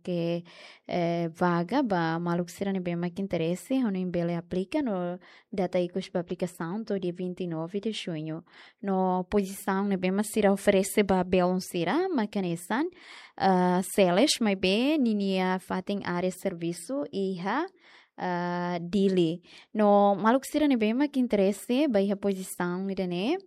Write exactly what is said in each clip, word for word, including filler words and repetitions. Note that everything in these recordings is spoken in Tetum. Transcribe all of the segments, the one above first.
loke, eh, vaga ba maluk sira ne'ebé mak interese, hanoin bele aplika no data ikus ba aplikasaun to'o dia vinte e nove de junho. No pozisaun ne'ebé mak sira oferese ba belun sira mak hanesan, ah, sales maibé ninia fatin área servisu iha, ah, Dili. No maluk sira ne'ebé mak interese ba iha pozisaun ida-ne'e,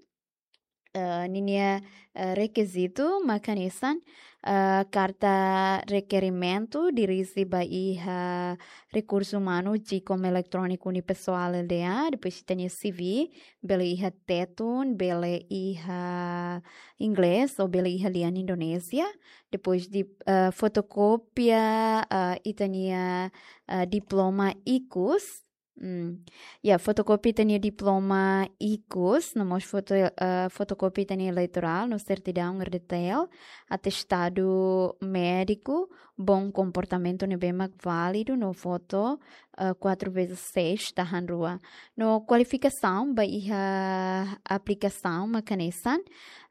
eh, ninia, eh, rekizitu mak hanesan, eh, karta rekerimentu dirije ba iha Rekursu Umanu Jikom Eletróniku Unipessoal L D A, depois ita-nia C V, bele iha Tetun, bele iha inglés ou bele iha lian Indonézia, depois de, eh, fotokópia, eh, ita-nia, eh, diploma ikus, Hmm. Ya, fotokópia ita-nia diploma ikus, no mós foto, eh, fotokópia ita-nia eleitorál, no sertidaun R D T L, atestadu médiku, bom komportamentu ne'ebé mak válidu, no foto, eh, quatro vezes seis tahan rua. No kualifikasaun ba iha aplikasaun mak hanesan,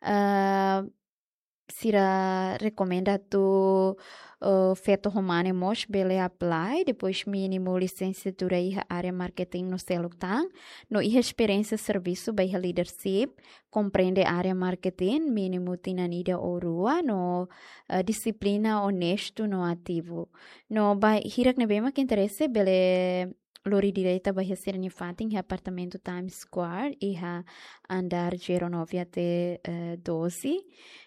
eh, sira rekomenda atu, eh, feto ho mane mós bele apply, depois mínimu lisensiatura iha área marketing no seluk tan, no iha esperiénsia servisu ba iha leadership, komprende área marketing, mínimu tinan ida ou rua, no, eh, dixiplina, onestu no ativu. No ba hirak ne'ebé mak interese bele lori direta ba iha sira-nia fatin iha apartamentu Times Square, iha andár zero nove até, eh, doze.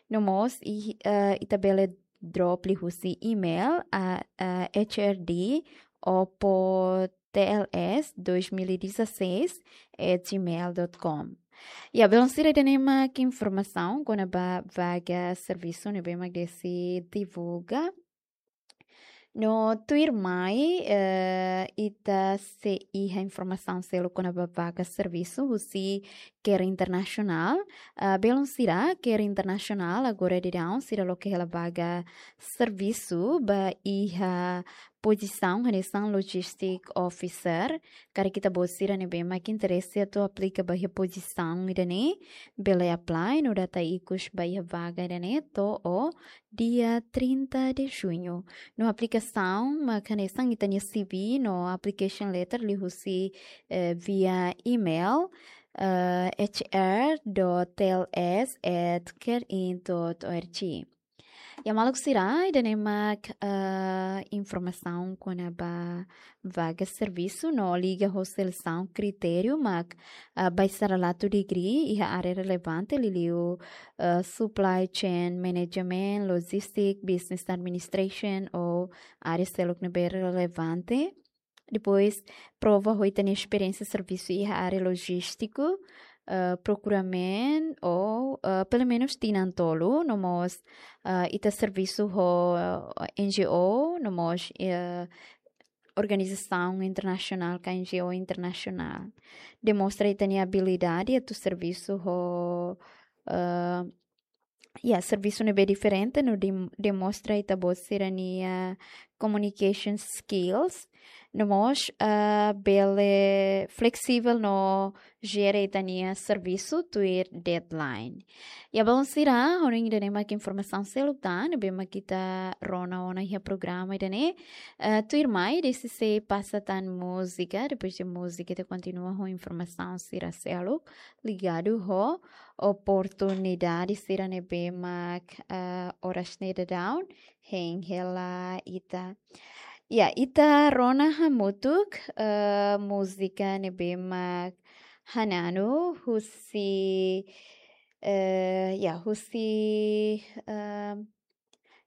No mós, i, eh, ita bele drop liuhusi email a, a H R D opo T L S dois mil e dezasseis at gmail dot com. Ya, belun sira, ida-ne'e mak informasaun kona-ba vaga servisu ne'ebé mak Desi divulga. No tuirmai, eh, ita sei iha informasaun seluk kona-ba vaga servisu husi CARE Internasionál. Ah, belun sira, CARE Internasionál agora daudaun sira loke hela vaga servisu ba iha pozisaun hanesan Logistic Officer. Karik ita-boot sira ne'ebé mak interese atu aplika ba iha pozisaun ida-ne'e, bele apply no data ikus ba iha vaga ida-ne'e to'o dia trinta de junho. No aplikasaun mak hanesan ita-nia C V no application letter liuhusi, eh, via email, eh, H R dot T L S at care in dot O R G. Ya, maluk sira, ida-ne'e mak, eh, informasaun kona-ba vaga servisu no liga ho selesaun kritériu mak, eh, baixarelatu degree iha área relevante liuliu, eh, supply chain management, logistic, business administration ou área seluk ne'ebé relevante. Depois, prova ho ita-nia esperiénsia servisu iha área lojístiku, eh, procurement ou, eh, pelumenus tinan tolu, no mós, eh, ita servisu ho, eh, N G O, no mós, eh, organizasaun internasionál ka N G O internasionál. Demonstra ita-nia abilidade atu servisu ho, eh, ya, servisu ne'ebé diferente, no dem-, demonstra ita-boot sira-nia communication skills, no mós, eh, bele flexivel no jere ita-nia servisu tuir deadline. Ya, belun sira, hanoin ida-ne'e mak informasaun seluk tan ne'ebé mak ita rona ona iha programa ida-ne'e. Eh, tuirmai, Desi sei pasa tan múzika, depois de múzika ita kontinua ho informasaun sira seluk ligadu ho oportunidade sira ne'ebé mak, eh, oras ne'e daudaun hein hela ita. Ya, ita rona hamutuk, eh, múzika ne'ebé mak Hananu husi, eh, ya, husi, eh,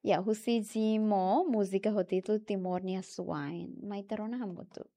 ya, husi Jimo, múzika ho títulu Timor nia Suain. Mai ita rona hamutuk.